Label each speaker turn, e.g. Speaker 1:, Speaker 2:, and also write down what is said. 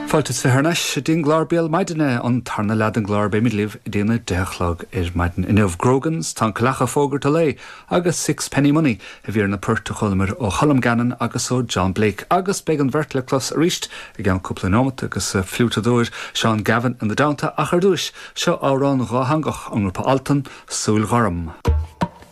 Speaker 1: Fáilte is thar n-ais go dtí an gclár Béal Maidine, an tarna leath den gclár. Beimid libh go dtí an 10 a chlog ar maidin inniu. Grogans, Tá an Coileach ag fógairt a lae agus Sixpenny Money a bhí ar na poirt a chualamar ó Cholm Gannon agus ó John Blake agus beidh an bheirt le clos arís i gceann cúpla neomat agus fliúiteadóir Seán Gavin ina dteannta ach ar dtúis, seo amhrán dhátheangach ón ngrúpa Altan, Súil Ghorm.